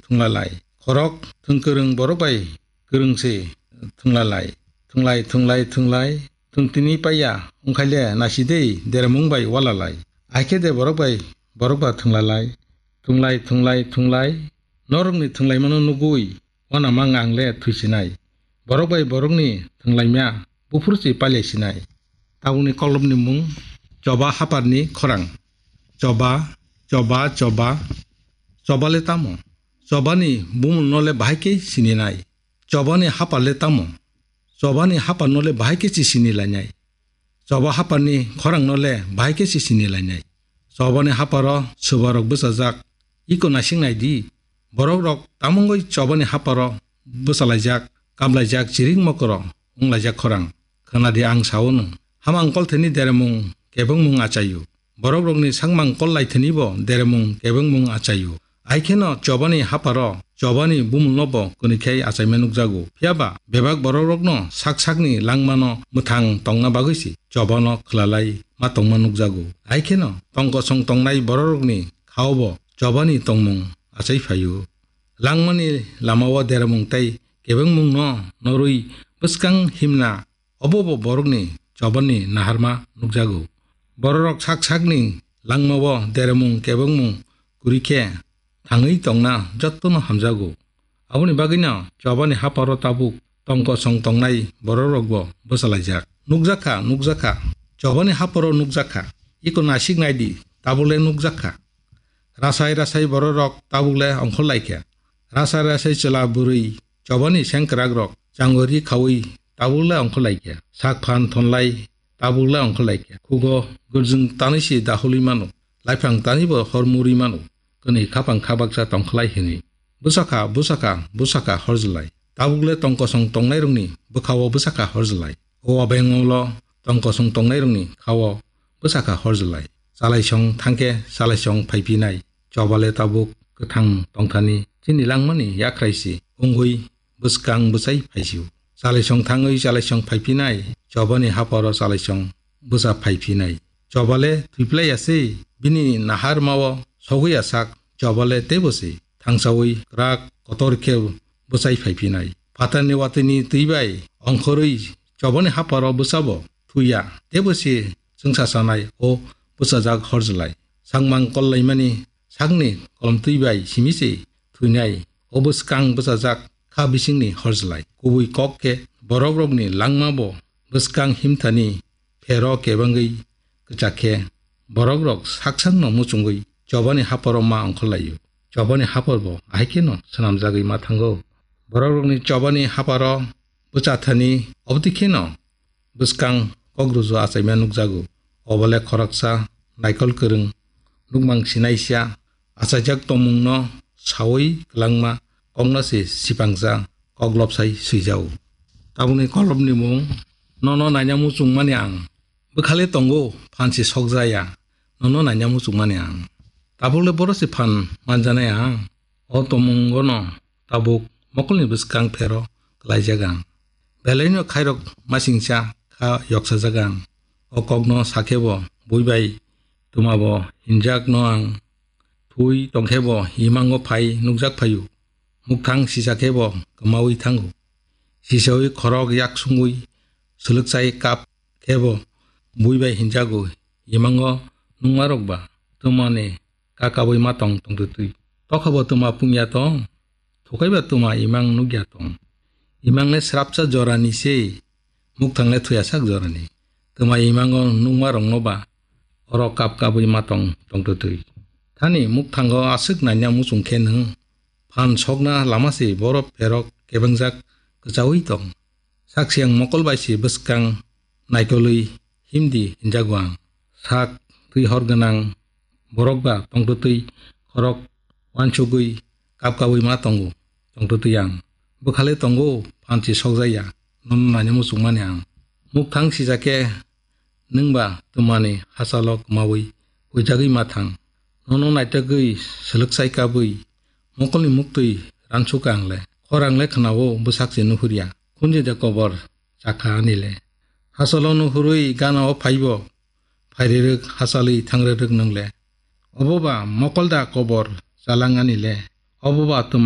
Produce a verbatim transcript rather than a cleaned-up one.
thwnglalai. Khorok thwng kwrwng borok bai kwrwng se thwnglalai. Thwnglai, thwnglai, thwnglai, thwng tini paiya, wngkhaile nasidei deremung bai walalai. Ahai khe de borok bai borok ba thwnglalai. Thwnglai, thwnglai, thwnglai, norokni thwnglaimano nugui, wanama ngangle thwisinai. Borok bai borokni thwnglaimya buphuru se pailaisinai. Tabukni kolomni mung Choba Haparni khorang. Choba, choba, choba. Choba le tamo? Chobani bumungno le bahai khe sininai. Chobani hapar le tamo? Chobani haparno le bahai khe se sinilainai. Choba Haparni khorangno le bahai khe se sinilainai. Chobani haparo swbarok bwchajak. Iko naising nai di. Borokrok tamungwi Chobani haparo bwchalaijak, kaplaijak, chiring mokoro wnglaijak khorang. Khwnadi ang sao nwng. Hamang kolthani deremung kebengmung achaio. Borokrokni sakmang kollaithani bo deremung kebengmung achaio. Aikheno Chobani haparo, Chobani bumungno bo kwnwi khai achaima nukjago. Phiyaba bebak borokrokno sak sakni langmano mwthang tongna bagwi se Chobano khwlalai ma tongma nukjago. Aikheno tongkosong tongnai borokrokni khao bo Chobani tongmung achai phaio. Langmani lamao deremung tei kebengmungno norwi bwskang himna obo bo borokni Chobani naharma nukjago. Bororok sak sakni langmao deremung kebengmung kwrwi khe thangwi tongna jottono hamjago. Aboni bagwino Chobani haparo tabuk tongkosong tongnai bororokbo bwchalaijak. Nukjakha, nukjakha, Chobani haparo nukjakha. Iko naisik naidi, tabukle nukjakha. Rasai rasai bororok tabukle ongkhorlaikha. Rasai rasai chwla bwrwi Chobani sengkwrakrok changori khaui tabukle ongkhorlaikha. Sak phan thonlai tabukle ongkhorlaikha. Khugo gwrjwng tanwi se dahului mano. Laiphang tanwi bo hor muri mano. Kwnwi khapang khabaksa tongkhlai hwnwi. Bwsakha, bwsakha, bwsakha horjlai. Tabukle tongkosong tongnairokni bwkhao bwsakha horjlai. O abeng ulo tongkosong tongnairokni khao bwsakha horjlai. Chalaisong thangkhe chalaisong phaiphinai. Chobale tabuk kwthang tongthani chini langmani yakhrai se wngwi bwskang bwchai phaisio. Chalaisong thangwi chalaisong phaiphinai, Chobani haparo chalaisong bwsa phaiphinai. Chobale thwiplai ya se, bini naharmao sogwi ya sak, Chobale teibo se thangsaui kwrak kotor khe bwchai phaiphinai. Phatarni watwini twi bai ongkhorwi Chobani haparo bwsabo thwiya, teibo se chwngsa sanai o bwchajak horjlai. Sakmang kollaimani sakni kolomtwi bai simi se thwinai, o bwskang bwchajak kha bisingni horjlai. Kubui kok khe borokrokni langma bo bwskang himthani phero kebengwi kwchak khe borokrok sak sakno muchungwi Chobani haparo ma ongkhorlaio. Chobani haparbo ahai kheno swnamjagwi ma thango. Borokrokni Chobani haparo bwchathani obotwi kheno bwskang kokruju achaima nukjago. Obole khoroksa naikol kwrwng nukmang sinaisa achaijak tongmungno saui kwlangma kokno se sipangsa koklopsai swijago. Tabukni kolopni mung nono naina muchungmani ang. Bwkhale tongo phan se sokjaya nono naina muchungmani ang. Tabukle boro se phan manjanai ang. O tongmungono tabuk mokolni bwskang phero kwlaijak ang. Belaino khairok masingcha kha yoksajak ang. O kokno sakhe bo bui bai twma bo hinjak no ang. Thui tongkhe bo imango phai nukjak phaio. Mukthang sisa khe bo kwmaui thango. Sisaui khorok yak sungui swlwkchai kap khe bo bui bai hinjago, imango nungmarok ba twmani kakabui ma tong tongtwtwi. Tokha bo twma pungya tong, thukai ba twma imang nukya tong. Imang le srapsa jorani se, mukthang le thuyasak jorani. Twma imango nungmarokno ba oro kap kabui ma tong tongtwtwi. Thani mukthango aswk naina muchung khe nwng phan sokna lama se borok pherok kebengjak kwchaui tong. Saksiyang mokol bai se bwskang naikolwi himdi hinjago ang. Sak twi hor gwnang borok ba tongtwtwi khorok wansugwi kapkabwi ma tongo, tongtwtwi ang. Bwkhale tongo, phansi sokjakya, nono naina muchungmani ang. Mukthang sijak khe nwng ba twmani hachalo kwmaui huijagwi ma thang. Nono naitugwi swlwkchai kabwi mokolni muktwi ransuka ang le. Khorang le khwnao bwsak se nuhurya. Khunjide kobor chakha ani le. Hachalo nuhurwi gana o phaibo. Phairirwk hachalwi thangrwrwk nwng le. Obo ba mokol da kobor chalang ani le. Obo ba twma